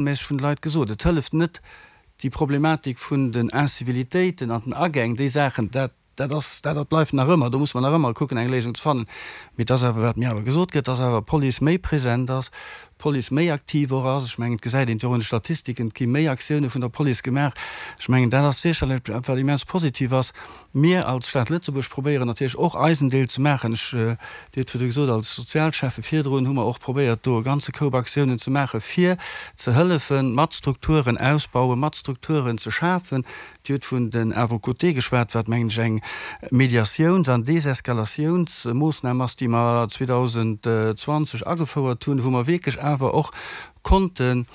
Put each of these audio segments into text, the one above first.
Regelméisseg vun de Leit gesot, et hëlleft net, déi Problematik vun den Incivilitéiten an den Agäng, déi Saachen, dat, dat ass, dat bleift nach ëmmer, do muss mer nach ëmmer kucken, eng Léisung ze fannen. Mee et ass awer, wat mir awer gesot gëtt, dass awer d'Police méi present ass, d'Police méi aktiv och ass. Ech mengen, et gesäit een et jo och un de Statistiken, et gi méi Aktioune vun der Police gemaach. Ech mengen, dat ass sécherlech eppes, wat immens positiv ass. Mir als Stad Lëtzebuerg probéieren natierlech och eisen Deel ze maachen. Ech, Dir hutt virdu gesot, als Sozialschäffe virdrun hu mer och probéiert, do e ganze Koup Aktiounen ze maachen, fir ze hëllefen, mat Strukturen ausbauen, mat Strukturen ze schafen. Dir hutt vun den Avocoté geschwat, wat, mengen ech, eng Mediatiouns an Deseskalatiounsmoossnam ass, déi mer 2020 agefouert hunn, wou mer wierklech awer och konnten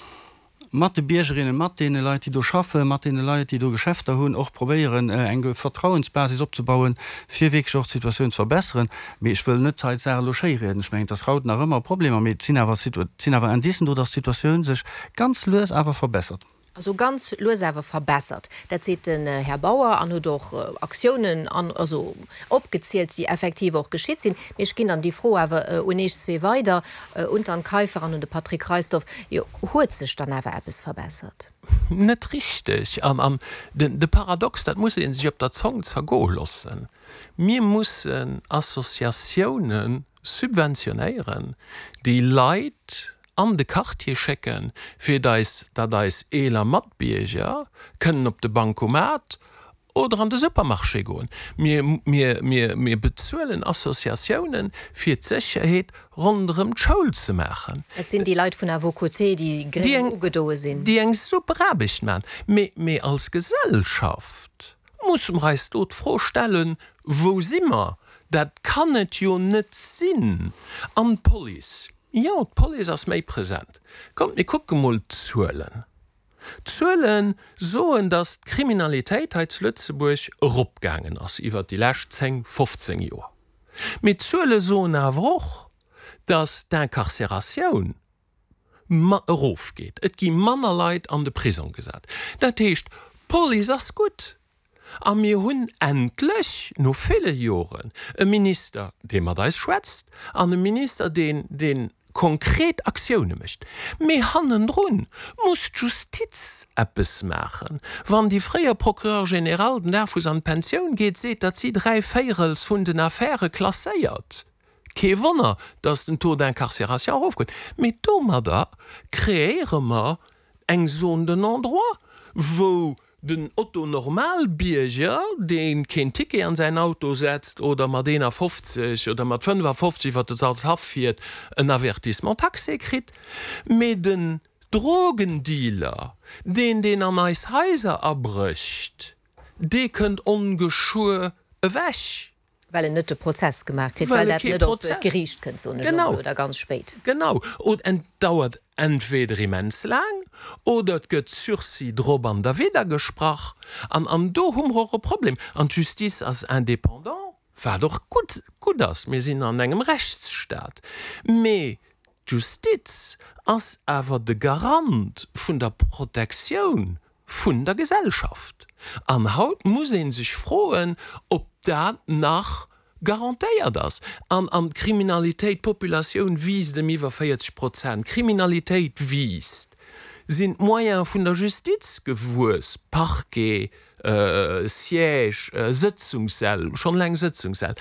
mat de Biergerinnen, mat deene Leit, déi do schaffen, mat deene Leit, déi do Geschäfter hunn, och probéieren, eng Vertrauensbasis opzebauen, fir wierklech och d'Situatioun ze verbesseren. Mee ech wëll net hei d'Saach elo schéirieden. Ech mengen, et ass haut nach ëmmer Problemer, mee et sinn awer, et sinn awer Indicen do, dass d'Situatioun sech ganz lues awer verbessert. Also ganz lues awer verbessert. Dat seet den Här Bauer an huet och Aktiounen an, also opgezielt, déi effektiv och geschitt sinn. Mee ech ginn dann déi Fro awer un Iech zwee weider, un d'Anne Kaiffer an un de Patrick Reisdorf. Jo, huet sech dann awer eppes verbessert? Net richteg. An de Paradox, dat muss ee sech op der Zong zergoe loossen, Mir mussen Associatioune subventionéieren, déi Leit an de Quartier schécken, fir datt eis eeler Matbierger kënnen op de Bancomat oder an de Supermarché goen. Mir, mir, mir, mir bezuelen Associatiounen, fir d'Sécherheet ronderëm d'Schoul ze maachen. Dat sinn déi Leit vun À vos côtés, déi gréng ugedoe sinn. Déi eng super Aarbecht maachen. Mee, mee als Gesellschaft musse mer eis do d'Fro stellen, Wou si mer? Dat kann et jo net sinn. An d'Police, jo, d'Police ass méi present. Kommt, mir kucke mol d'Zuelen. D'Zuele soen, datt d'Kriminalitéit hei zu Lëtzebuerg eropgaangen ass iwwert déi lescht 10, 15 Joer. Mee d'Zuele soen awer och, datt d'Incarcératioun erofgeet. Et gi manner Leit an de Prisong gesat. Dat heescht, d'Police ass gutt. A mir hunn endlech, no ville Joren, e Minister, dee mat eis schwätzt, an e Minister, deen, dee konkret Aktioune mécht. Mee hannendrun muss d'Justiz eppes maachen. Wann déi fréier Procureur général den Dag, wou se an d'Pensioun geet, seet, datt si dräi Véirels vun den Affäre klasséiert, kee Wonner, datt den Taux d'incarcération erofgeet. Mee domadder kreéiere mer eng Zone de non-droit, wou Den Otto Normalbierger, dee keen Ticket an säin Auto setzt oder mat 51 oder mat 55 iwwer de Salzhaff fiert, en Avertissement taxé kritt, mee den Drogendealer, deen deen an eis Haiser abrécht, dee kënnt ongeschuer ewech. Well en net de Prozess gemaach kritt, well dat net op d'Geriicht kënnt, soen ech elo mol, oder ganz spéit. Genau. Oder et dauert entweder immens laang oder et gëtt Sursis drop an derwidder gesprach. An, an do hu mer och e Problem. An d'Justice ass indépendant, wat och gutt, gutt ass, mir sinn an engem Rechtsstaat. Mee d'Justiz ass awer de Garant vun der Protektioun vun der Gesellschaft. An haut muss ee sech froen, ob dat nach garantéiert ass. An an d'Kriminalitéit, d'Populatioun wiisst ëm iwwer 40 Prozent, d'Kriminalitéit wiisst, sinn d'Moyene vun der Justiz gewuess, Parquet, Siège, Sëtzungssäll, schonn eleng Sëtzungssäll.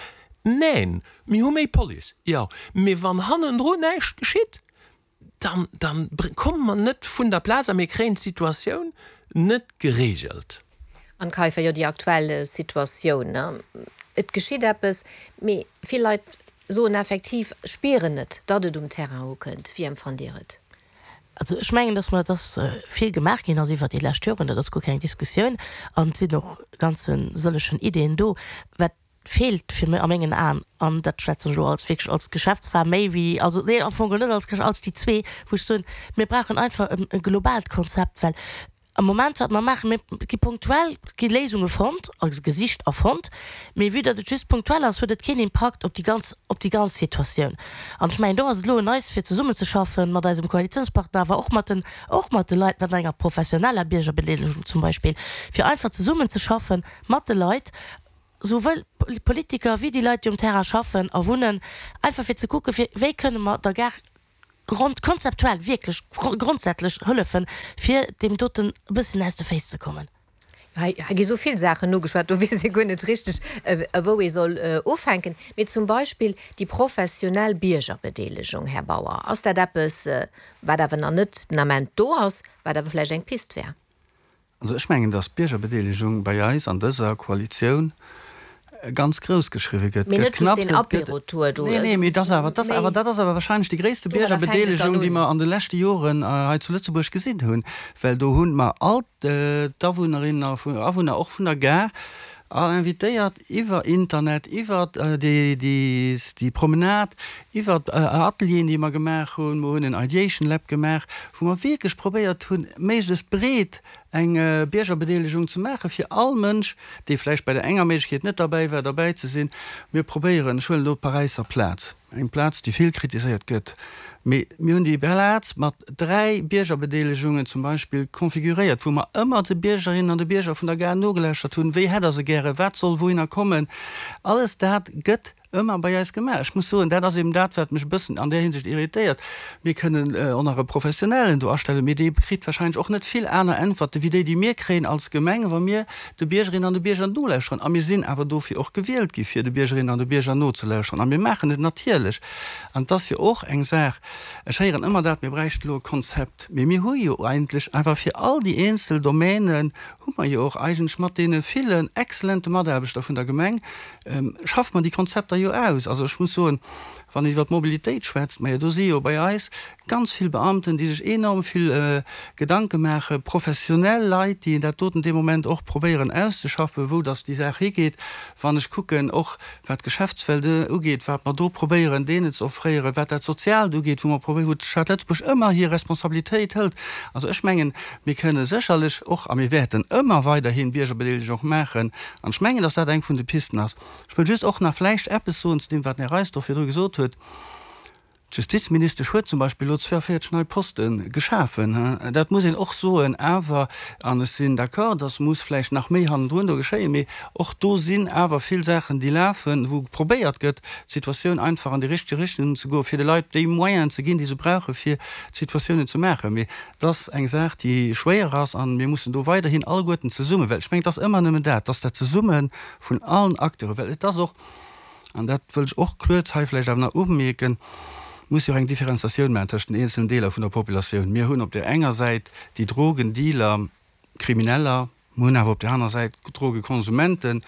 Neen, mir hu méi Police, jo, mee wann hannendru näischt geschitt, dann, dann komme mer net vun der Plaz a mir kréien d'Situatioun net geregelt. Anne Kaiffer, Jo, déi aktuell Situatioun, et geschitt eppes, mee vill Leit soen effektiv, spieren net, datt et um Terrain ukënnt. Wéi empfannt Dir et? Also ech mengen, datt mer, datt vill gemaach ginn ass iwwert déi lescht Joren, dat ass guer keng Diskussioun an et sinn och ganze sëllegen Ideeën do. Wat feelt fir mech a mengen Aen, an dat schwätzen ech elo als wierklech als Geschäftsfra méi wéi, also nee am Fong net als Geschäfts-, als déi zwee, wou ech soen, mir brauchen einfach e globaalt Konzept, well am Moment wat mer maachen, mir gi punktuell gi Léisunge fonnt, also gesicht a fonnt, mee vue datt et just punktuell ass, huet et keen Impakt op déi ganz, op déi ganz Situatioun. An ech mengen do ass et elo un eis fir zesummenzeschaffen mat eisem Koalitionspartner, awer och mat den, och mat de Leit, mat enger professioneller Biergerbedeelegung zum Beispill, fir einfach zesummenzeschaffen mat de Leit, souwuel d'Politiker wéi déi Leit, déi um Terrain schaffen a wunnen, einfach fir ze kucken, fir wéi kënne mer der Gare. Grond, konzeptuell, wierklech grondsätzlech hëllefen, fir deem doten e bësschen aus de Féiss ze kommen. Hei gi sou vill Saachen ugeschwat, do weess ee guer net richteg, wou ee soll ufänken. Mee zum Beispill déi professionell Biergerbedeelegung, Här Bauer, ass dat eppes, wat awer nach net den Ament do ass, wat awer vläicht eng Pist wär? Also ech mengen, datt d'Biergerbedeelegung bei eis an dëser Koalitioun ganz grouss geschriwwe gëtt. Mee net just deen Apéro-Tour do. Nee, nee, mee dat ass awer, dat ass awer, dat ass awer wahrscheinlech déi gréisste Biergerbedeelegung, déi mer an de leschte Joren hei zu Lëtzebuerg gesinn hunn. Well do hu mer all d'Awunnerinnen a Awunner, och vun der Gare, all invitéiert iwwer Internet, iwwer déi Promenade, iwwer Atelieren, déi mer gemaach hunn. Mer hunn en Ideation Lab gemaach, wou mer wierklech probéiert hunn, méiglechst breet eng Biergerbedeelegung ze maachen, fir all Mënsch, dee vläicht bei der enger Méiglechkeet net derbäi war, derbäi ze sinn. Mir probéieren, ech huelen elo d'Paräisser Plaz, eng Plaz, déi vill kritiséiert gëtt, mee mir hunn déi Plaz mat 3 Biergerbedeelegungen zum Beispill configuréiert, wou mer ëmmer de Biergerinnen an de Bierger vun der Gare nogelauschtert hunn, wéi hätt Der se gären, wat soll wouhinner kommen. Alles dat gëtt Ëmmer bei eis gemaach. Ech muss soen, dat ass eben dat, wat mech e bëssen an där Hinsicht irritéiert. Mir kënnen och nach e Professionellen do astellen, mee dee kritt wahrscheinlech och net vill aner Äntwerte wéi déi, déi mir kréien als Gemeng, wa mir de Biergerinnen an de Bierger nolauschteren. A mir sinn awer dofir och gewielt gi fir de Biergerinnen an de Bierger nozelauschteren. A mir maachen et natierlech. An et ass jo och eng Saach, ech héieren ëmmer dat, mir bräichten elo e Konzept. Mee mir hu jo eigentlech awer fir all déi eenzel Domänen hu mer jo och eigentlech mat deene villen exzellente Mataarbechter vun der Gemeng, schaffe mer déi Konzepter jo aus. Also ech muss soen, wann een iwwer d'Mobilitéit schwätzt, majo do si jo bei eis ganz vill Beamten, déi sech enorm vill Gedanke maachen, professionell Leit, déi dat doten dee Moment och probéieren auszeschaffen, wou dass déi Saach higeet. Wann ech kucken och wat d'Geschäftswelt ugeet, wat mer do probéieren deenen ze offréieren, wat dat Soziaalt ugeet, wou mer probéieren, wou d'Stad Lëtzebuerg ëmmer hir Responsabilitéit hëlt. Also ech mengen, mir kënne sécherlech och a mir wäerten ëmmer weiderhin Biergerbedeelegung maachen an ech mengen, dass dat eng vun de Pisten ass. Ech wëll just och nach vläicht eppes soen zu deem, wat den Här Reisdorf virdru gesot huet. D'Justizministesch huet zum Beispill elo 42 nei Poste geschafen. Dat muss een och soen. Awer, an ech sinn d'accord, dass muss vläicht nach méi hannendrun do geschéien, mee och do sinn awer vill Saachen, déi lafen, wou probéiert gëtt, d'Situatioun einfach an déi richteg Richtung ze goen, fir de Leit déi Moyenen ze ginn, déi se brauchen, fir d'Situatiounen ze maachen. Mee et ass eng Saach, déi schwéier ass, a mir mussen do weiderhin alleguerten zesummen, well ech mengen, et ass ëmmer nëmmen dat, et ass dat Zesumme vun allen Acteuren, well et ass och, An dat wëll ech och kuerz hei vläicht awer nach umierken, muss jo och eng Differenziatioun maachen tëschent den eenzelen Deeler vun der Populatioun. Mir hunn op där enger Säit déi Drogendealer, Krimineller, mir hunn awer op där aner Säit Drogekonsumenten,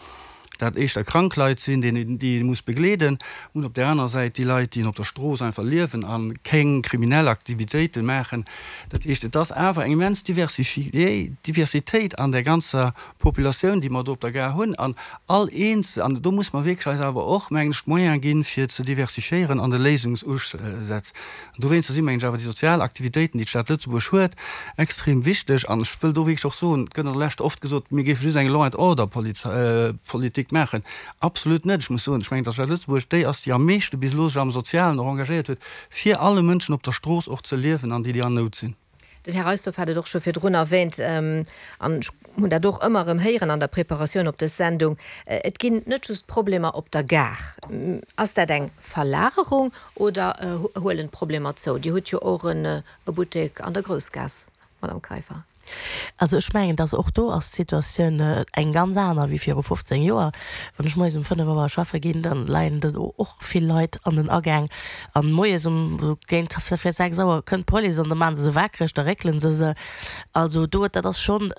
dat éischter krank Leit sinn, déi ee muss begleeden. Mir hunn op där aner Säit déi Leit, déi op der Strooss einfach liewen a keng kriminell Aktivitéite maachen. Dat heescht, et ass awer eng immens Diversitéit an där ganzer Populatioun, déi mer do op der Gare hunn, an all eenzel, an do muss mer wierklech eis awer och, mengen ech, d'Moyene ginn, fir ze diversifiéieren an de Léisungsusätz. An dowéinster si mengen ech awer déi sozial Aktivitéiten, déi d'Stad Lëtzebuerg huet, extrem wichteg. An ech wëll do wierklech och soen, et gëtt an der Lescht oft gesot, mir géife just eng Law and Order Politik maachen. Absolut net! Ech muss soen, ech mengen, datt d'Stad Lëtzebuerg déi ass, déi am meeschte bis elo sech am Sozialen och engagéiert huet, fir alle Mënschen op der Strooss och ze liewen an déi, déi an Nout sinn. Den Här Reisdorf hat et och scho virdrun erwähnt, an ech hunn dat och ëmmer erëm héieren an der Preparatioun op dës Sendung, Et ginn net just Problemer op der Gare. Ass dat eng Verlagerung oder huelen d'Problemer zou? Dir hutt jo och e Buttek an der Groussgaass, Madame Kaiffer. Also ech mengen, dass och do ass d'Situatioun eng ganz aner wéi viru 15 Joer. Wann ech moies um 5 Auer schaffe ginn, da leien do och vill Leit an den Agäng. An moies um esou géint 6 Auer kënnt d'Police an da maachen se se waakreg, da réckele se se. Also do, dat ass schonn,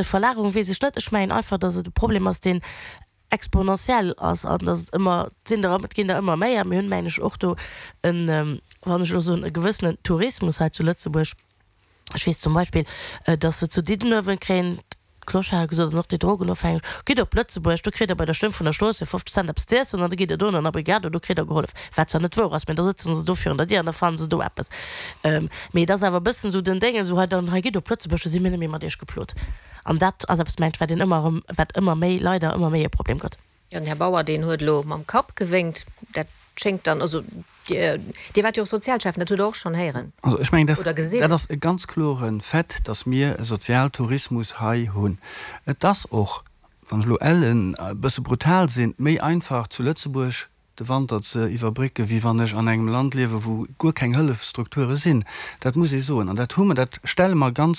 Verlagerung weess ech net. Ech mengen einfach, dass et e Problem ass, deen exponentiell ass an dass et ëmmer, et sinn der, et ginn der ëmmer méi. A mir hunn, mengen ech, och do en, wann ech elo soen, e gewëssenen Tourismus hei zu Lëtzebuerg. Ech weess zum Beispill, dass se zu Diddenuewen kréien d'Clocharde gesot, an och déi Drogenofhängeg, Gitt op Lëtzebuerg, do kritt der bei der Stëmm vun der Strooss fir 50 Cent eppes z'iessen an da gitt der do an der Brigade, do kritt der gehollef. Wat zwar net wouer ass, mä da sëtze se do virun der Dier an da fannen se do eppes. Mee et ass awer e bëssen esou den Déngen, esou hei dann, hei gitt op Lëtzebuerg, do si mir net méi mat iech geplot. An dat ass eppes, mengt ech, wat een ëmmer erëm, wat ëmmer méi, leider ëmmer méi e Problem gëtt. Jo, den Här Bauer, deen huet elo mam Kapp gewénkt. Dat schéngt dann, also Dir, Dir waart jo och Sozialschäffen, dat hutt Der och schonn héieren Also ech mengen, oder gesinn. Dat ass e ganz klore Fait, dass mir e Sozialtourismus hei hunn. Et ass och, wann ech elo ellen e bësse brutal sinn, méi einfach zu Lëtzebuerg. de Wanter ze iwwerbrécken, wéi wann ech an engem Land liewen, wou guer keng Hëllefsstrukture sinn. Dat muss ee soen. An dat hu mer, dat stelle mer ganz.